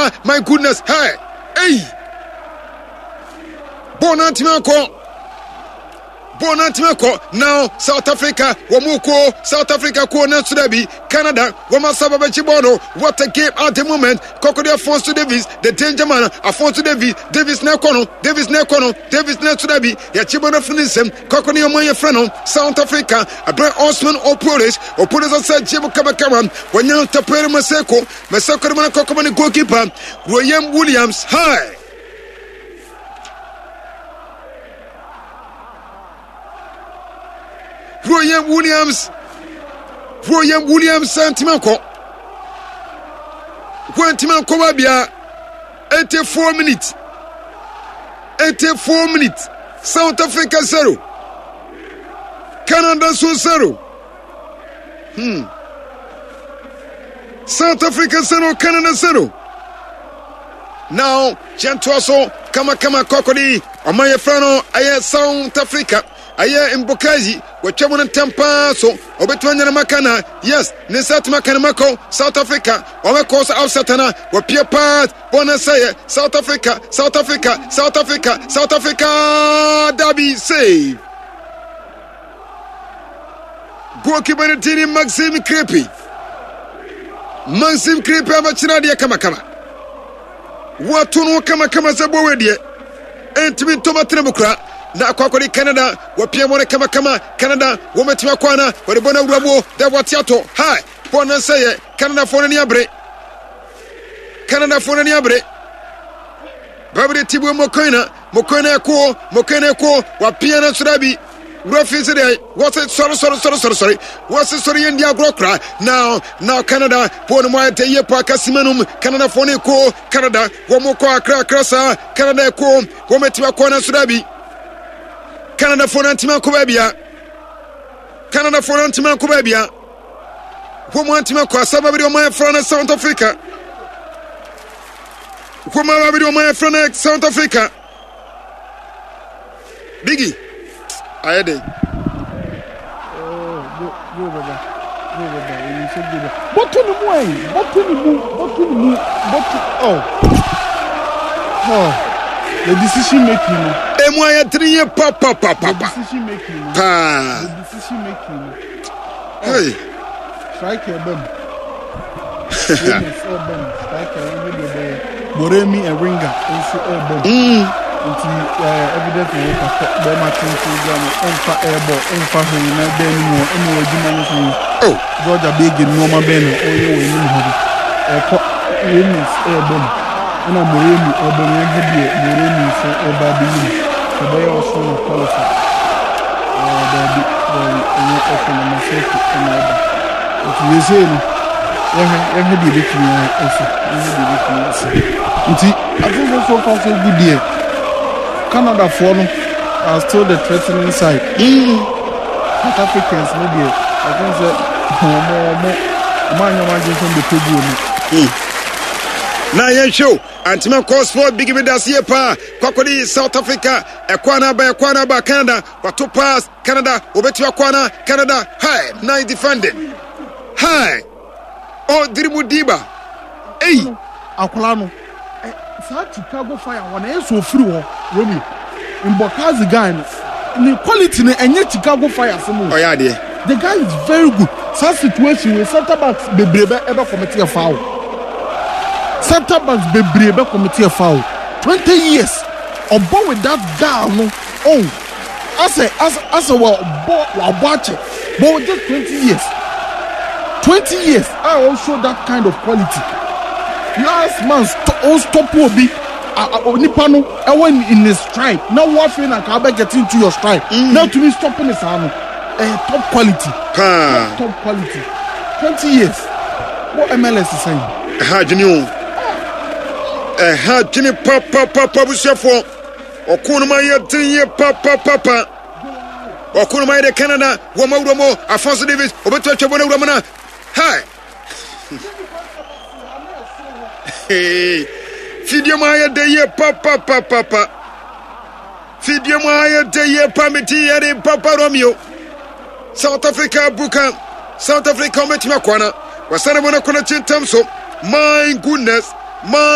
Canada, my goodness, hey, hey. Bɔɔl no antumi ankɔ. Bɔɔl no antumi ankɔ. Now South Africa wɔn mu ko South Africa ko no nso bi Canada wɔn asa ba bɛkyi bɔɔl no. What a game at the moment. Kɔkɔde Afonso Davies the danger man Afonso Davies Davies na ɛkɔ no Davies na ɛkɔ no Davies na ɛso bi yɛkyi bɔɔl no afiri ne nsam. Kɔkɔde wɔn yɛ frɛ no South Africa abɛn Osman Opolis Opolis ɔsɛ gye mu kamakama wɔnya Tapere Maseko Maseko de mu no kɔkɔmɔ ne goalkeeper Royem Williams. Hi. Royem Williams Royem Williams antimi ankɔ wantimi ankɔ baabia 84 minutes 84 minutes South Africa 0 Canada so 0 hmm South Africa 0 Canada 0 Now yɛntoa so kamakama kɔkɔde ɔman yɛfrɛ no ɛyɛ South Africa ɛyɛ Mbokazi wɔtwa mu no ntɛm paa so ɔbɛtumi anya ne maka na yes ne nsa atumi aka ne maka South Africa wɔbɛkɔ so outside na wɔpie paa bɔɔl no sɛyɛ South Africa South Africa South Africa South Africa dabi save Goalkeeper no din ne Maxime Crepe. Maxime Crepe abɛkyerɛ adeɛ kamakama. Wɔato no kamakama sɛ bɔwɛ deɛ. Ɛntumi ntɔm atena mu kora. Na akɔ akɔde Canada wɔpia wɔn kamakama. Canada wɔmɛtumi akɔ ana wɔde bɔ no awura mu dɛ wɔate atɔ. Hi bɔɔl no nsɛyɛ Canadafoɔ no ani abere. Canadafoɔ no ani abere. Babere Tibue Mokoena, Mokoena ɛko, Mokoena ɛko, wapia no soro abi. Wura fi sɛ deɛ wɔse sɔre sɔre sɔre sɔre sɔre wɔse sɔre yɛn di agorɔ kora now now Canada bɔɔl no mu ayɛ dɛ yie paa kasima nom Canada foɔ no ɛko Canada wɔn kɔ akra akra saa Canada ɛko wɔn atumi akɔ no soro abi Canada foɔ no antumi akɔ baabi a Canada foɔ no antumi akɔ baabi a wɔn antumi akɔ asaba bi de wɔn ayɛ no South Africa Nkrumah bi de ɔman yɛfrɛ no South Africa. Biggie, ayɛ den. Bɔto ne mu ayi, bɔto ne mu, bɔto ne mu, bɔto oh. Oh, the decision making no. Emu ayɛ tiri yie papapapapa. The decision making no. Paa. The decision making no. Hey. Striker ɛbɛ mu. Raymond ɛbɛ mu. Striker ɛbɛ deɛ ɛbɛyɛ. Moremi Eringa nso ɛbɛ mu. Nti ɛɛ evidence na wɔka kɔ bɛrima tenten gya no ɔnfa ɛɛbɔ ɔnfa hwee na ɛbɛn no mu hɔ ɛna wɔ adwuma no sɛn. Oh. Georgia Bege nneɛma bɛn na ɔyɛ wɔ anim hɔ no. Ɛkɔ Raymond ɛbɛ mu. Ɛna Moremi ɛbɛ mu yɛnhwɛ deɛ Moremi nso ɛba abɛyi mu. Ɛbɛyɛ ɔso na qualify. Ɛɛ daabi daabi ɛnyɛ ɔso na Maseko ɛna ɛba. Nti seesei no, yɛhwɛ yɛhwɛ deɛ ebetumi asi, yɛhwɛ deɛ ebetumi asi. Nti I think sɛ so far so good deɛ, Canadafoɔ no are still the threatening side. Mm. South Africans no deɛ, I think sɛ wɔn wɔn wɔn anyɛ wɔn adwene sɛ wɔn bɛpɛ guo no. Mm. Na yɛnhwɛ o, antima kɔ sport bigi bi da se yie paa, kɔkɔde South Africa, ɛkɔ anaba ɛkɔ anaba Canada, wato pass. Canada, wɔbɛtumi akɔ ana? Canada, hi, nice defending. Hi, ɔdiri mu diba. Ei. Akwadaa no, saa Chicago Fire hɔ no, ɛyɛ sɛ ofiri hɔ, Romeo. Mbokazi guy no, ne quality no ɛnyɛ Chicago Fire asɛm o. Ɔyɛ adeɛ. The guy is very good. Saa situation wei center backs bebree bɛ ɛbɛ commit a foul. Center backs bebree bɛ commit a foul. 20 years, ɔbɔ with that guy no, oh. Asɛ asɛ asɛ wabɔ wabɔ akyɛ but with just 20 years, 20 years a ɔ show that kind of quality. Last man stop o stop obi a nipa no ɛwɔ in his stride na wo afei na nka abɛ get into your stride na tumi stop ne saa no ɛyɛ top quality. Paa. Top top quality. 20 years wɔ MLS sɛn. Ɛha adwene o. Ɛha adwene papapapa busuafoɔ. Ɔko no ma yɛ den yie papapapa. Ɔko no ma yɛ de Canada wɔ ma wura mu. Afonso Davis obetumi atwa bɔ no wura mu na. Hi. Fidie mu ayɛ de yie papapapapa. Fidie mu ayɛ de yie pa me ti yɛ de papa Romeo. South Africa buka. South Africa wɔbɛtumi akɔ ana. Wɔsane bɔ no kɔ no kyi ntam so. My goodness. My.